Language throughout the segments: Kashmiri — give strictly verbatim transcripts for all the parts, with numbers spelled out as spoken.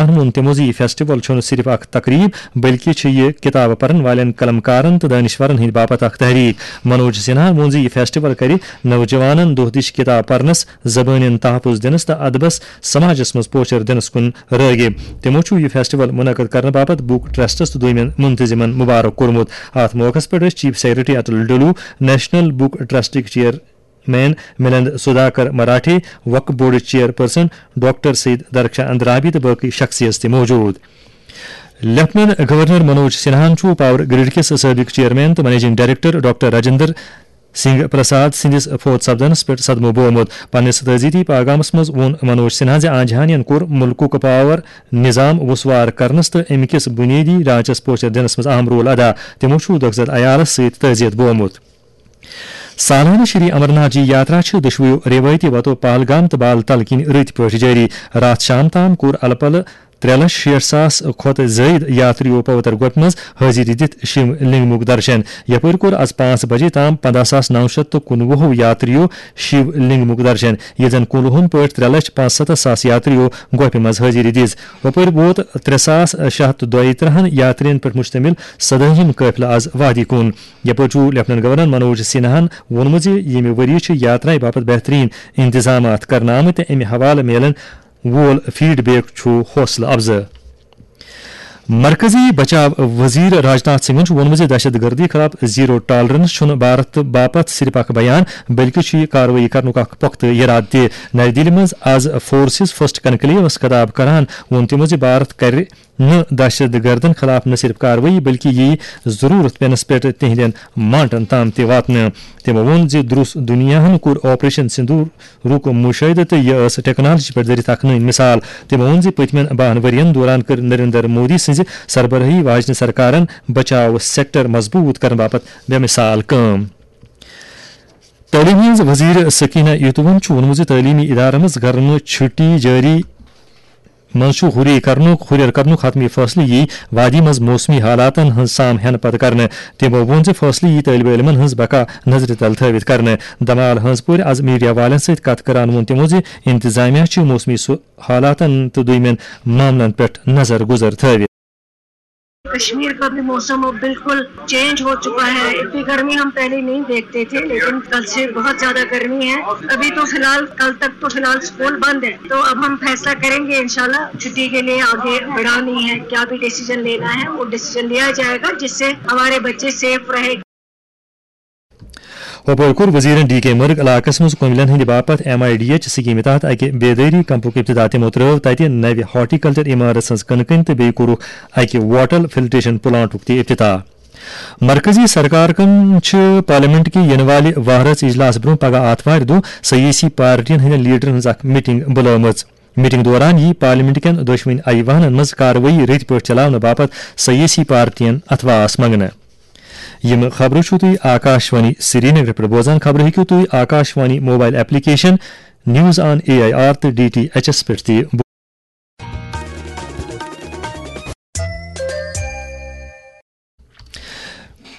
سنہاہن ووٚن تِمو زِ یہِ فیسٹیول چھُنہٕ صرف اکھ تقریب، بلکہِ چھُ یہِ کِتابہٕ پرن والٮ۪ن، قلم کارن تہٕ دٲنِشورن ہٕنٛدِ باپتھ اکھ تحریک۔ منوج سنہاہن ووٚن زِ یہِ فیسٹیول کرِ نوجوانن دۄہ دِش کِتاب پرنس، زبٲنٮ۪ن تحفظ دِنس تہٕ ادبس سماجس منٛز پوچھر دِنس کُن رٲغب۔ تِمو چھُ یہِ فیسٹیول منعقد کرنہٕ باپتھ بک ٹرسٹس تہٕ دویمٮ۪ن منتظمن مبارک کوٚرمُت۔ اتھ موقعس پٮ۪ٹھ ٲسۍ چیف سیکرٹری اٹل ڈولو، نیشنل بک ٹرسٹٕکۍ چیئرمین ملند سدھاکر مراٹھے، وقف بورڈٕچ چیئرپرسن ڈاکٹر سید درخشاں اندرابی تہٕ باقی شخصیت تہِ موجود۔ لیفٹیننٹ گورنر منوج سنہاہن چھُ پاور گرڈ کِس سٲبق چیئرمین تہٕ managing director doctor Rajendra Singh Prasad سٕنٛدِس فوت سپدنس پٮ۪ٹھ صدمہٕ بومُت۔ پننِس تعزیتی پیغامس منٛز ووٚن منوج سنہاہن زِ آنجہانین کوٚر مُلکُک پاور نظام وسوار کرنس تہٕ امہِ کِس بنیٲدی ڈھانچس پوچھر دِنس منٛز اہم رول ادا۔ تِمو چھُ دۄکھٕ زد عیالس سۭتۍ تعزیت بومُت۔ سالانہٕ شری امرناتھ جی یاترا چھِ دۄشوٕیو روایتی وتو پہلگام تہٕ بال تل کِنۍ رٕتۍ پٲٹھۍ جٲری۔ راتھ شام تام کوٚر الہٕ پلہٕ ترٛےٚ لچھ شیٹھ ساس کھۄتہٕ زٲیِد یاترِیو پوتر گۄپھِ منٛز حٲضِری دِتھ شِو لِنٛگمُک درشن۔ یپٲرۍ کوٚر از پانٛژھ بجے تام پنٛداہ ساس نو شیٚتھ تہٕ کُنوُہو یاترِیو شِو لِنٛگمُک درشن، ییٚتہِ زن کُلہُن پٲٹھۍ ترٛےٚ لچھ پانٛژھ ستتھ ساس یاترِیو گۄپھِ منٛز حٲضِری دِژ۔ ہُپٲرۍ ووت ترٛےٚ ساس شےٚ ہتھ تہٕ دۄیہِ ترٕٛہن یاترِین پٮ۪ٹھ مشتمل سدٲہِم قٲفلہٕ از وادی کُن۔ یپٲرۍ چھُ لیفٹیننٹ گورنر منوج سنہاہن ووٚنمُت زِ ییٚمہِ ؤرۍ یہِ چھِ یاترایہِ باپتھ بہترین انتظامات کرنہٕ آمٕتۍ تہٕ امہِ حوالہٕ میلن وول فیڈ بیک چھُ حوصلہٕ افزا۔ مرکزی بچاو وزیر راجناتھ سنگھن چھُ ووٚنمُت زِ دہشت گردی خلاف زیرو ٹالرنس چھُنہٕ بھارت باپتھ صرف اکھ بیان، بلکہِ چھُ یہِ کاروٲیی کرنُک اکھ پۄختہٕ یرادٕ تہِ۔ نئی دِلہِ منٛز از فورسز فرسٹ کنکلیوس خطاب کران ووٚن تِمو زِ بھارت کرِ نہٕ دہشت گردن خلاف نہ صرف کاروٲیی، بلکہِ یِیہِ ضروٗرت پینس پٮ۪ٹھ تِہنٛدٮ۪ن مانٹن تام تہِ واتنہٕ۔ تِمو ووٚن زِ درُس دُنیاہن کوٚر آپریشن سندورُک مشاہدٕ تہٕ یہِ ٲس ٹیکنالوجی پٮ۪ٹھ دٔرِتھ اکھ نٔوۍ مثال۔ تِمو ووٚن زِ پٔتمٮ۪ن بَہَن ؤرین دوران کٔر نریندر مودی سٕنٛزِ سربرٲہی واجنہِ سرکارن بچاو سیکٹر مضبوٗط کرنہٕ باپتھ بے مثال کٲم۔ تعلیٖم ہٕنٛز وزیر سکینہ یتوَن چھُ ووٚنمُت زِ تعلیٖمی ادارن منٛز گرمہٕ چھُٹی جٲری منٛز چھُ ہُری کرنُک، ہُرٮ۪ر کرنُک حتمی فٲصلہٕ یی وادی منٛز موسمی حالاتن ہٕنٛز سام ہٮ۪نہٕ پتہٕ کرنہٕ۔ تِمو ووٚن زِ فٲصلہٕ یی طٲلبہِ علمن ہٕنٛز بقا نظرِ تل تھٲوِتھ کرنہٕ۔ دمال ہٲنٛز پورِ از میڈیا والٮ۪ن سۭتۍ کتھ کران ووٚن تِمو زِ انتظامیہ چھُ موسمی سُہ حالاتن تہٕ دوٚیمٮ۪ن معاملن پٮ۪ٹھ نظر گُزر تھٲوِتھ۔ کشمیر کا بھی موسم اب بالکل چینج ہو چکا ہے۔ اتنی گرمی ہم پہلے نہیں دیکھتے تھے، لیکن کل سے بہت زیادہ گرمی ہے۔ ابھی تو فی الحال، کل تک تو فی الحال اسکول بند ہے، تو اب ہم فیصلہ کریں گے انشاءاللہ چھٹی کے لیے آگے بڑھانی ہے، کیا بھی ڈیسیجن لینا ہے وہ ڈیسیجن لیا جائے گا، جس سے ہمارے بچے سیف رہے۔ ہُپٲرۍ کوٚر وزیرن ڈی کے مرگ علاقس منٛز کُملٮ۪ن ہٕنٛدِ باپتھ ایم آئی ڈی ایچ سکیمہِ تحت اکہِ بیدٲری کیمپُک افتتاح۔ تِمو ترٲو تتہِ نوِ ہارٹیکلچر عمارژ ہٕنٛز کٕنہٕ کٔنۍ تہٕ بیٚیہِ کوٚرُکھ اکہِ واٹر فلٹریشن پلانٹُک تہِ افتتاح۔ مرکزی سرکارن چھِ پارلیمنٹ کہِ یِنہٕ والہِ وہرٲژ اجلاس برٛونٛہہ پگاہ آتھوارِ دۄہ سیٲسی پارٹین ہٕنٛدٮ۪ن لیڈرن ہٕنٛز اکھ میٹنگ بُلٲومٕژ۔ میٹنگ دوران یِیہِ پارلیمنٹ کٮ۪ن دۄشوٕنی ایوانن منٛز کاروٲیی رٕتۍ پٲٹھۍ چلاونہٕ باپتھ سیٲسی پارٹین اتھواس منٛگنہٕ۔ یِم خبرٕ چھِو تُہۍ آکاشوانی سرینگر پٮ۪ٹھ بوزان۔ خبرٕ ہیٚکِو تُہۍ Akashvani mobile application, news on A I R تہٕ ڈی ٹی ایچ ایس پٮ۪ٹھ تہِ بو-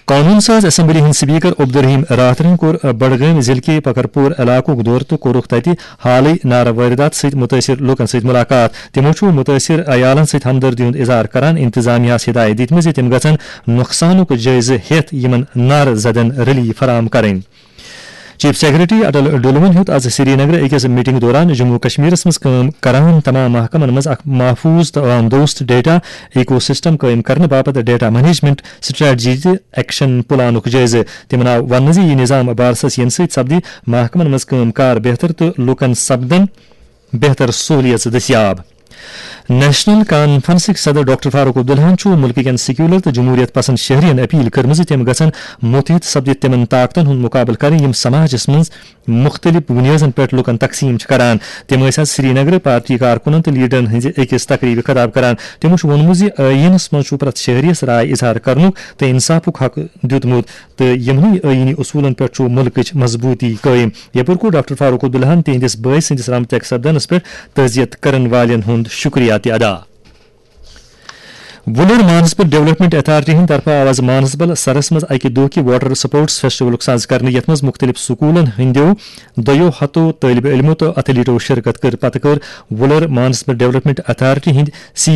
قونوٗن ساز اسمبلی ہٕنٛدۍ سپیکر عبدالرحیم راتھرَن کوٚر بڈگٲمۍ ضلعہٕ کہِ پکرپور علاقُک دورٕ تہٕ کوٚرُکھ تتہِ حالٕے نارٕ وٲرِدات سۭتۍ مُتٲثِر لوٗکَن سۭتۍ مُلاقات۔ تِمَو چھُ مُتٲثِر عیالَن سۭتۍ ہمدردی ہُنٛد اظہار کران انتظامیہَس ہدایت دِتمٕژ زِ تِم گژھن نۄقصانُک جٲیزٕ ہٮ۪تھ یِمَن نارٕ زدَن ریلیف فراہم کرٕنۍ۔ چیف سیکرٹری اٹل ڈولوَن ہیوٚت از سرینگرٕ أکِس میٹنگ دوران جموں کشمیرَس منٛز کٲم کران تمام محکمَن منٛز اکھ محفوظ تہٕ عوام دوست ڈیٹا ایکو سسٹم قٲیِم کرنہٕ باپتھ ڈیٹا مینجمنٹ سٹریٹجی تہٕ ایکشن پلانُک جٲیزٕ۔ تِمَن آو وننہٕ زِ یہِ نظام بارسَس یِنہٕ سۭتۍ سپدِ محکمَن منٛز کٲم کار بہتر تہٕ لوٗکَن سپدَن بہتر سہولیژٕ دٔستیاب۔ نیشنل کانفرنسٕکۍ صدر ڈاکٹر فاروق عبداللہَن چھُ مُلکہٕ کٮ۪ن سیکولر تہٕ جمہوریت پسند شہرین اپیل کٔرمٕژ زِ تِم گژھن مُتحد سپدِتھ تِمَن طاقتَن ہُنٛد مُقابلہٕ کرٕنۍ یِم سماجَس منٛز مُختٔلِف بُنیٲدَن پٮ۪ٹھ لُکَن تقسیٖم چھِ کران۔ تِم ٲسۍ آز سرینگرٕ پارٹی کارکُنَن تہٕ لیڈرَن ہٕنٛزِ أکِس تقریٖبہِ خطاب کران۔ تِمو چھُ ووٚنمُت زِ ٲیٖنَس منٛز چھُ پرٛٮ۪تھ شہریَس راے اظہار کرنُک تہٕ انصافُک حق دیُتمُت تہٕ یِمنٕے ٲیٖنی اصوٗلَن پٮ۪ٹھ چھُ مُلکٕچ مضبوٗطی قٲیِم۔ یَپٲرۍ کوٚر ڈاکٹر فاروق عبداللہَن تِہنٛدِس بٲے سٕنٛدِس رحمتیک سپدنَس پٮ۪ٹھ تعزیت کرن والٮ۪ن ہُنٛد شُکریہ تہِ ادا۔ وُلر مانسبل ڈیولپمنٹ اتھارٹی ہٕنٛدِ طرفہٕ آو از مانسبل سرس منٛز اکہِ دۄہ کہِ واٹر سپورٹس فیسٹیولُک ساز کرنہٕ، یتھ منٛز مختلف سکولن ہٕنٛدیو دۄیو ہتو طٲلبہِ علمو تہٕ ایتھلیٹو شرکت کٔر۔ پتہٕ کٔر وُلر مانسبل ڈیولپمنٹ اتھارٹی ہٕنٛدۍ سی